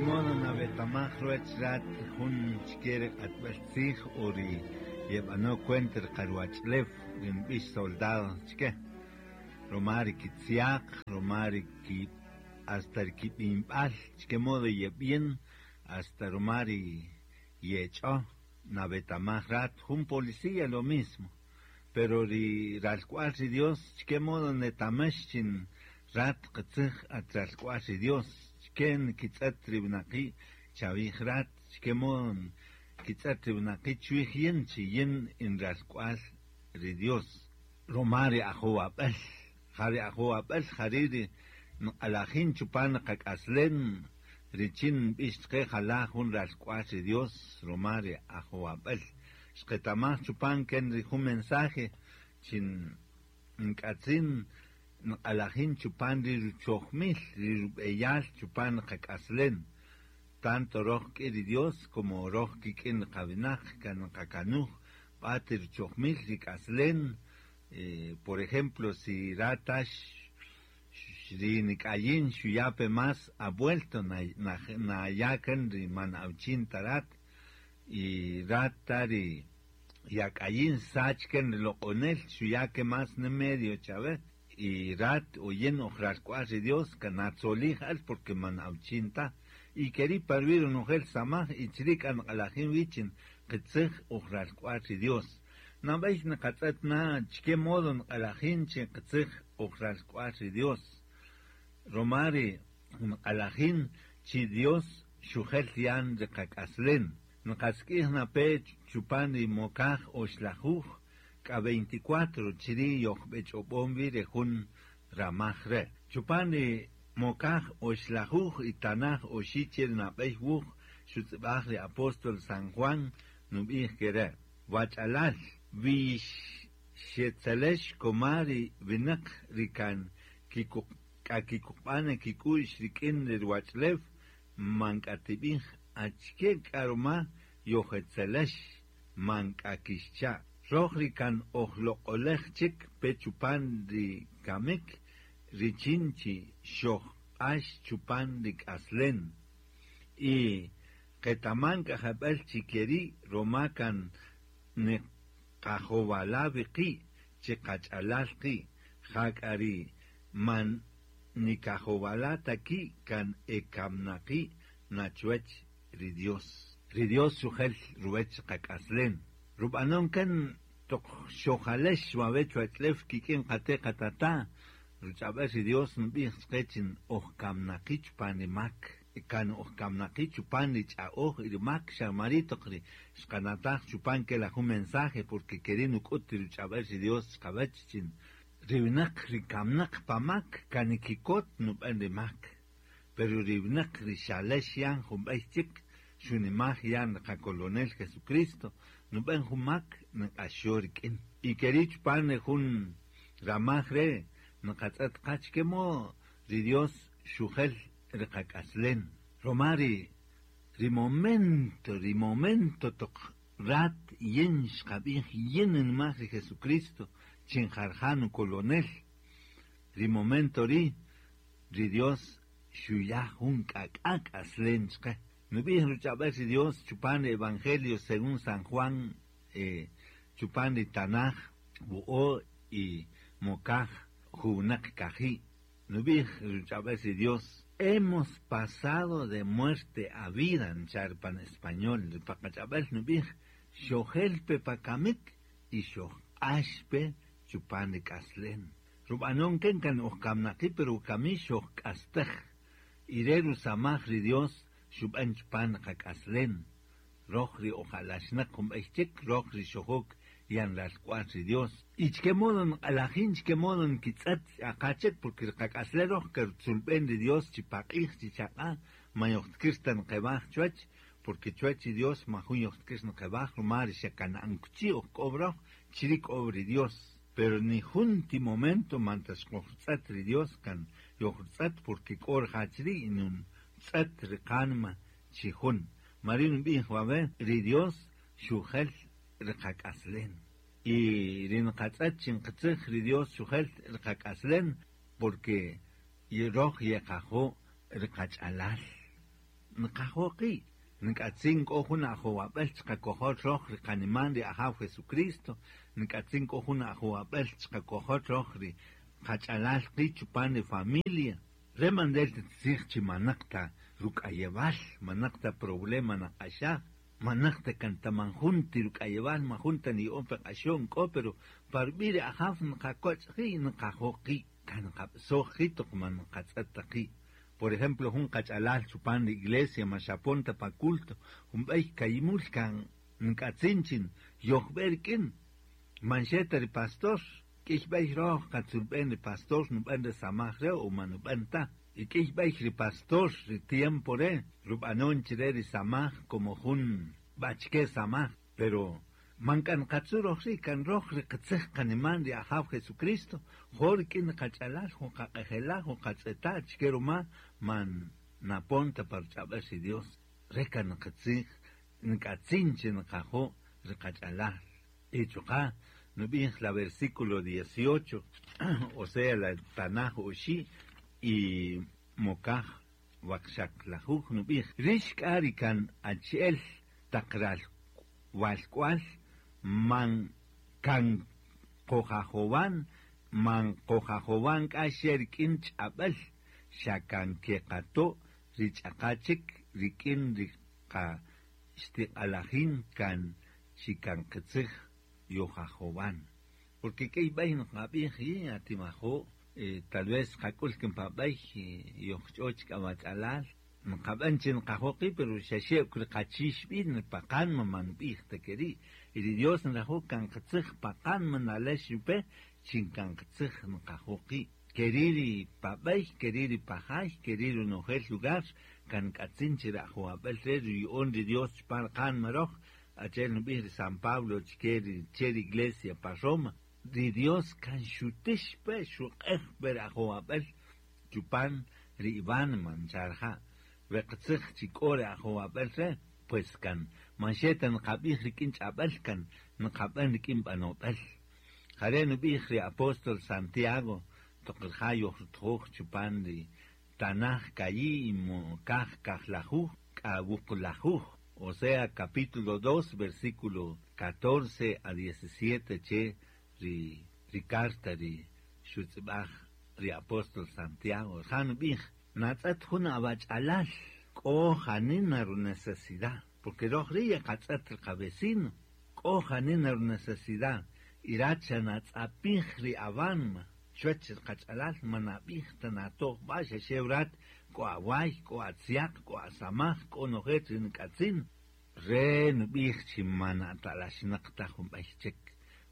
Modo nawetamaj ruwech rat jun chke ri q'atb'al tzij o ri yeb'ano kwent ri qaruwach'ulew ri nb'ix soldado chke ruma ri kitziaq, ruma ri ki hasta ri kib'inb'al chke modo yeb'in hasta ruma ri yech'o nawetamaj rat jun policía lo mismo pero ri ralk'wal ri Dios chke modo netamex chin rat qitzij at ralk'wal ri Dios chke nkitz'et ri winaqi' chawij rat chke modo nkitz'et ri winaqi' chwij yin chi yin in ralk'wal ri Dios ruma ri ajowab'äl ja ri ajowab'äl jari' ri nq'alajin chupan qak'aslem richin nb'ix chqe jala' jun ralk'wal ri Dios ruma ri ajowab'äl xqetamaj chupan ken ri jun mensaje chin nk'atzin nq'alajin chupan ri ruchojmil ri rub'eyal chupan qak'aslem tanto roj k'i ri Dios como roj kik'in qawinaq kan nqakanuj b'at ruchojmil ri k'aslem por ejemplo si ratax ri nik'ayin xuyape más avuelto nayakan ri man awchin tarat y rata ri yak'ayin sachken ri loq'onel xuyake más ne medio chawe y rat oyen ojralk'wal ri Dios kanatzolij al porque man awchin ta y keri parwi ronojel samaj y chri' k'a nq'alajin wichin qitzij ojralk'wal ri Dios nab'ey nqatz'et na chke modo nq'alajin chin qitzij ojralk'wal ri Dios ruma ri nq'alajin chi Dios xujel yan ri qak'aslem nqask'ij nape chupan ri mokaj oxlajuj k'a 24 chiri' yojb'ech'ob'on wi ri jun ramaj re' chupan ri mokaj oxlajuj y tanaj oxi' che ri nab'ey wuj xutz'ib'aj ri apóstol San Juan nub'ij ke re' wach'alal wix xetzelex koma ri winaq ri kan k'a kikuqb'ana kik'u'x rik'in ri ruwach'ulew man k'a tib'ij achke k'a ruma yojetzelex man k'a kixcha' roj ri kan ojloq'olej chik pe chupan ri kamik richin chi xojq'ax chupan ri k'aslem y qetaman k'a jeb'ël chi keri' ruma kan niqajowala' wi qi' chi qach'alal qi' ja k'a ri man nikajowala' ta ki' kan ekamnaqi' nachwech ri Dios. Ri Dios xujel ruwech qak'aslem rub'anon kan toq xojalex wawech wach'lew kik'in qate' qatata' ruch'ab'al ri Dios nb'ij chqe chin ojkamnaqi' chupan ri mak kan ojkamnaqi' chupan ri ch'a'oj y ri mak xamari' toq ri xqanataj chupan ke la jun mensaje porque keri' nuk'ut ri ruch'ab'al ri Dios chqawach chin ri winaq ri kamnaq pa mak kan nikikot nub'an ri mak pero ri winaq ri xalex yan jun b'ey chik xunimaj yan ri qakolonel Jesucristo nub'an jun mak nq'axo rik'in y keri' chupan ri jun ramaj re' nqatz'et qa chke mo ri Dios xujel ri qak'aslem ruma ri momento toq rat yin xqab'ij yin nmaj ri Jesucristo chin jarja nukolonel ri momento ri' ri Dios xuya jun k'ak'a k'aslem chqe nub'ij ruch'ab'al ri Dios chupan ri Evangelio según San Juan chupan ri Tanaj wu'o y mokaj juwnaq kaji' nub'ij ruch'ab'al ri Dios hemos pasado de muerte a vida nchar pan español ri paqach'ab'al nub'ij xojel pe pakamik y xojq'ax pe chupan ri k'aslem rub'anon ken kan ojkamnaqi' pero kami xojk'astej y re rusamaj ri Dios xub'an chupan qak'aslem roj ri ojalaxnaq jun b'ey chik roj ri xojok yan ralk'wal ri Dios y chke modo nq'alajin chke modo nkitz'et aqachik porque ri qak'aslem roj kertzulb'en ri Dios chi paq'ij chi chaq'a ma yojtkir ta nqeb'aj chuwach porque chuwach ri Dios ma jun yojtkir nqeb'aj ruma ri xekana'ankuchi ojk'ob roj chiri' k'ob ri Dios pero ni jun ti momento man ta xqojtz'et ri Dios kan yojtz'et porque k'o rija' chiri' y nun tz'et ri qanma chi jun mari nb'ij wawe ri Dios xujel ri qak'aslem y ri nqatz'et chin qitzij ri Dios xujel ri qak'aslem porque roj yeqajo' ri qach'alal. Nqajo' qi', nk'atzin k'o jun ajowab'äl chqakojol röj ri qaniman ri Ajaw Jesucristo, nk'atzin k'o jun ajowab'äl chqakojol röj ri qach'alal qi' chupan ri familia. Re man ntel ta tzij chi manäq ta ruk'ayewal, manäq ta problema naq'axaj, manäq ta kan ta man jun ti ruk'ayewal, man jun ta niya'on pe q'axo'n k'o, pero pa rub'i' ri Ajaw nqakoch' qi' nqajo' qi', kan nqab'soj qi' toq man nqatz'ët ta qi'. Por ejemplo, jun qach'alal chupan ri iglesia ma xapon ta pa culto, jun b'ey kayimul kan nk'atzin chi yojb'e rik'in, man xe ta ri pastor. K'ïy b'ey röj qatzulb'en ri pastor nub'än re samaj re' o ma nub'än ta. Y k'ïy b'ey ri pastor ri tiempo re' rub'anon chi re ri samaj como jun b'achike samaj. Pero man k'a nqatzu' röj ri', kan röj ri qitzij qaniman ri Ajaw Jesucristo, jo' rik'in ri qach'alal, jo' qaq'ejela', jo' qatz'eta' achike ruma man napon ta pa ruch'ab'äl ri Dios. Re' kan qitzij nk'atzin chi nqajo' ri qach'alal. Y chuqa' nub'ij la versículo 18, o sea, la tanaj oxi' y mokaj waqxaqlajuj nub'ij, Rïx k'a ri kan achi'el taq ral walk'wal man kan qojajowan, man qojajowan k'a xe rik'in ch'ab'äl, xa kan keqato' ri ch'aqa chik rik'in ri qa xtiq'alajin kan chi kan qitzij yojajowan. Porque k'ïy b'ey nqab'ij yin atimajo', tal vez qak'ul kin pa b'ey yojch'o chik awach'alal, nqab'än chi nqajo' qi', pero xa xe ok ri qachix b'in pa qanma man nb'ij ta ke ri'. Y ri Dios nrajo' kan qitzij pa qanma nalex pe chi kan qitzij nqajo' qi'. Ke ri' ri pa b'ey, ke ri' ri pa jay, ke ri' ronojel lugar, kan nk'atzin chi ri ajowab'äl re' ruya'on ri Dios chupan qanma röj, achi'el nub'ij ri San Pablo chke ri che ri iglesia pa Roma. Ri Dios kan xutix pe, xuq'ej pe ri ajowab'äl chupan ri iwánima ncha' rija'. We qitzij chi k'o ri ajowab'äl re', pues kan man xe ta nqab'ij rik'in ch'ab'äl, kan nqab'än rik'in b'anob'äl. Ja re' nub'ij ri apóstol Santiago toq rija' yojrutjoj chupan ri tanaj ka'i' mokaj kajlajuj k'a wuqlajuj, o sea, capítulo 2, versículo 14 a 17 che ri ri carta ri xutz'ib'aj ri apóstol Santiago. Rija' nub'ij, natz'ët jun awach'alal k'o janina runecesidad, porque röj ri' yeqatz'ët ri qavecino, k'o janina runecesidad, y rat xa natz'apij ri awanma, chuwäch ri qach'alal man nab'ij ta natoj b'a' xa xe rat k'o away, k'o atzyaq, k'o asamaj, k'o nojel ri nk'atzin. Re nub'ij chi man atalaxnäq ta jun b'ey chik.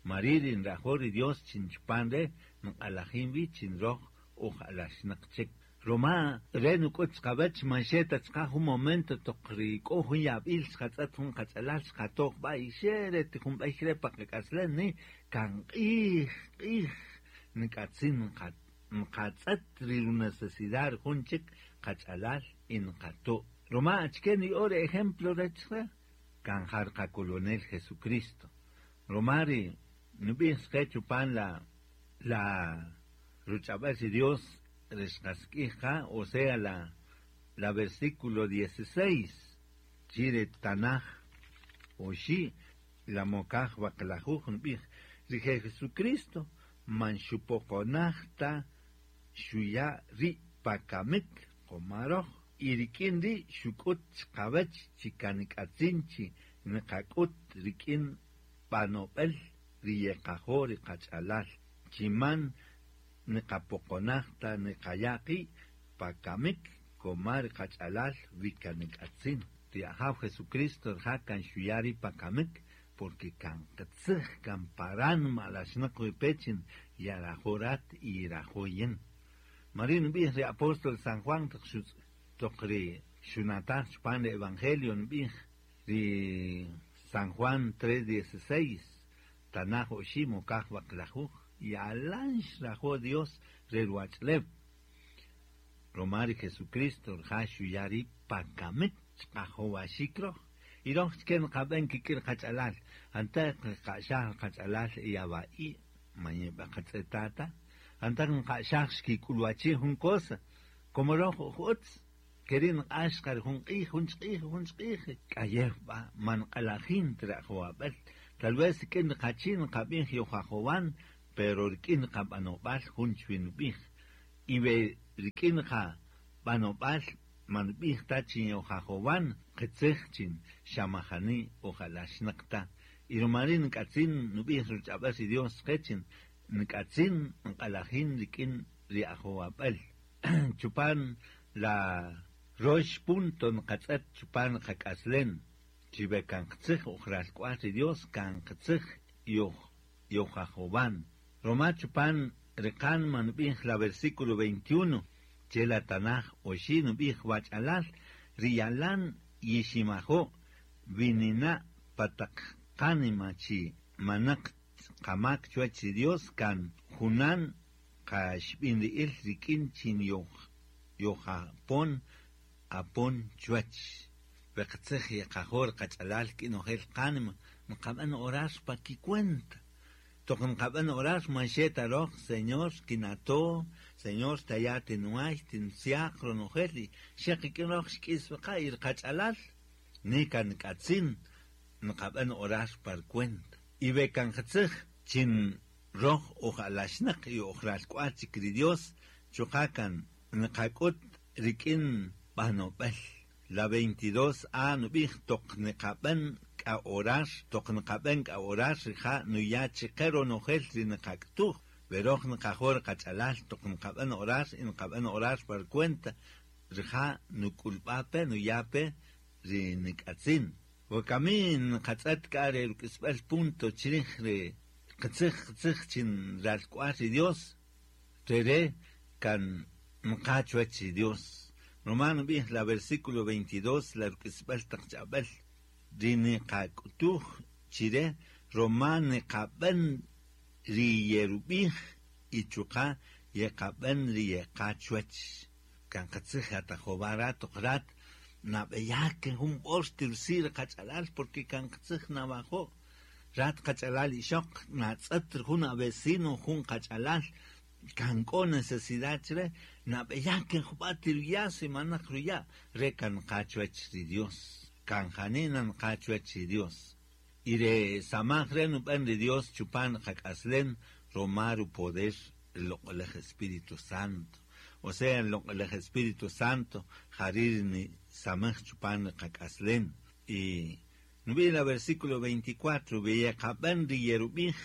Mari' ri nrajo' ri Dios chi chupan re' nq'alajin wi chi röj uj alaxnäq chik. Ruma re nuk'ut chqawäch man xe ta chqa jun momento toq ri k'o jun yab'il xqatz'ët jun qach'alal xqatoj b'a' y xe re ti jun b'ey re' pa qak'aslem ni kan q'ij q'ij nk'atzin nqatz'ët ri runecesidad ri jun chik qach'alal y nqato'. Ruma achike niya'o ri ejemplo re chqe kan ja ri qakolonel Jesucristo. Ruma ri nub'ij chqe chupan la la ruch'ab'äl ri Dios ri xqasik'ij qa, o sea, la la versículo 16 chi ri tanaj oxi' la mokaj waqlajuj nub'ij ri Jesucristo man xupoqonaj ta xuya' ri' pa kamik qoma röj y rik'in ri' xuk'ut chqawäch chi kan nk'atzin chi nqak'ut rik'in b'anob'äl ri yeqajo' ri qach'alal chi man nqapoqonaj ta nqaya' qi' pa kamik koma ri qach'alal wi kan nk'atzin. Ri Ajaw Jesucristo rija' kan xuya' ri' pa kamik porque kan qitzij kan paran alaxnäq wi pe chin yarajo' rat y yirajo' yin. Mari' nub'ij ri apóstol San Juan toq toq ri xunataj chupan ri Evangelio nub'ij ri San Juan 3:16 tanaj oxi' mokaj waqlajuj yalan xrajo' Dios re ruwach'ulew. Ruma ri Jesucristo rija' xuya' ri' pa kamik chqajowaxik röj. Y röj chke nqab'än kik'in qach'alal, anteq nqa'xaj qach'alal yawa'i' man yeb'aqatz'eta' ta, anteq nqa'xaj xkik'ulwachij jun cosa, como röj uj utz. Keri' nq'ax qa ri jun q'ij, jun chik q'ij, jun chik q'ij, k'ayew b'a', man nq'alajin ta ri ajowab'äl. Tal vez rik'in ri qachi' nqab'ij yojajowan, pero rik'in qab'anob'al jun chwi nub'ij. Y we rik'in qab'anob'al man nub'ij ta chi yojajowan, qitzij chi xa majani ojalaxnäq ta. Y ruma ri' nk'atzin nub'ij ruch'ab'äl ri Dios chqe chi nk'atzin nq'alajin rik'in ri ajowab'äl. Chupan la rox punto nqatz'et chupan qak'aslen, chi we kan qitzij oj ralk'wal ri Dios, kan qitzij yojajowan. Ruma chupan ri qanma nub'ij la versículo 21, che la tanaj oxi' nub'ij wach'alal, ri yalan yiximajo' winina' pa taq qanima chi manaq qamak chuwach ri Dios kan junan qaxb'inri'il rik'in chin yojapon apon chuwach. We qitzij yeqajor qach'alal k'inojel qanima nqab'an orar pa kicuenta. Toq nqab'an orar man xe ta roj, Señor, kinato, Señor, taya tinuay, tinsiaq ronojel y xe qik'in roj xk'is weqa y qach'alal ni kan k'atzin nqab'an orar par cuenta. Y we kan qitzij chin roj ojalaxnaq y ojralk'wal chik ri Dios chuqa' kan nqak'ut rik'in b'anob'el. La 22a nub'ij toq nqab'an k'a orar, toq nqab'an k'a orar rija' nuya chiqe ronojel ri nqak'tuj. We roj nqajor qach'alal toq nqab'an orar y nqab'an orar par cuenta rija' nuk'ulb'a pe nuya pe ri nik'atzin. Wakami nqatz'et k'a ri ruk'isb'al punto chrij ri qitzij qitzij chin ralk'wal ri Dios, rere kan nqa chuwach ri Dios. Ruma nub'ij la versículo 22 la ruk'isb'al taq ch'ab'äl ri niqak'utuj chire ruma niqab'an ri yerub'ij y chuqa' yeqab'an ri yeqa chuwach. Kan qitzij atajowar rat toq rat nab'eyak jun b'or tirsi ri qach'alal porque kan qitzij nawajo'. Rat qach'alal ixoq natz'et jun avecino jun qach'alal kan k'o necesidad chre nab'eyak jub'a' tiruya' si manaq ruya' re kan nqa chuwach ri Dios, kan janina nqa chuwach ri Dios. Y re samaj re nub'an ri Dios chupan qak'aslen ruma rupoder el loq'olej Espíritu Santo. O sea, el loq'olej Espíritu Santo jarir ni samaj chupan qak'aslen. Y nub'ij la versículo 24, veyeqab'an ri yerub'ij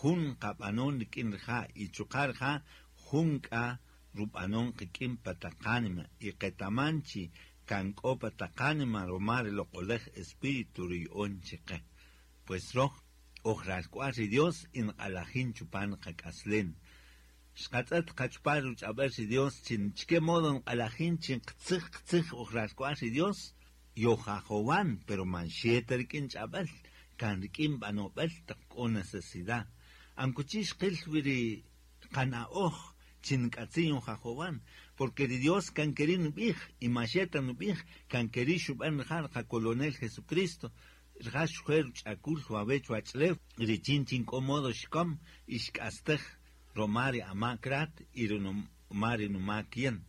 jun qab'anon rik'in rija' y chuqa' rija' jun k'a rub'anon qik'in pa taq qanima y qetaman chi kan k'o pa taq qanima ruma ri loq'olej Espíritu ruya'on chiqe. Pues roj oj ralk'wal ri Dios y nq'alajin chupan qak'aslen. Xqatz'et qachupal ruch'ab'äl ri Dios chin chike modo nq'alajin chin qitzij qitzij oj ralk'wal ri Dios yojajowan, pero man xeta rik'in ch'ab'äl, kan rik'in b'anob'äl taq k'o necesidad. Ankuchi xqil wi ri qana'oj chin nk'atzin yojajowan, porque ri Dios kan keri' nub'ij, y ma xeta nub'ij, kan keri' xub'an rija' qacolonel Jesucristo, rija' xjuer ruch'akul wawe' chuwach'ulew, richin chin k'o modo xkom y xk'astej ruma ri amak rat y ruma ri numak yin.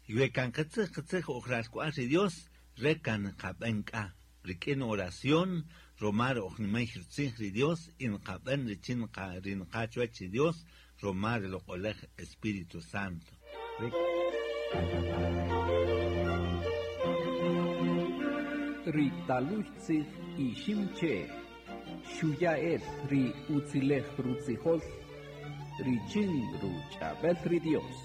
Y we kan qitzij qitzij oj ralk'wal ri Dios, re kan nqab'an k'a rik'in oración ruma ri oj nimey rutzij ri Dios y nqab'an richin ri nqa chuwach ri Dios ruma ri loq'olej Espíritu Santo. Ri taluy tzij iximche xuya'el ri utzilej rutzijol richin ruch'ab'el ri Dios.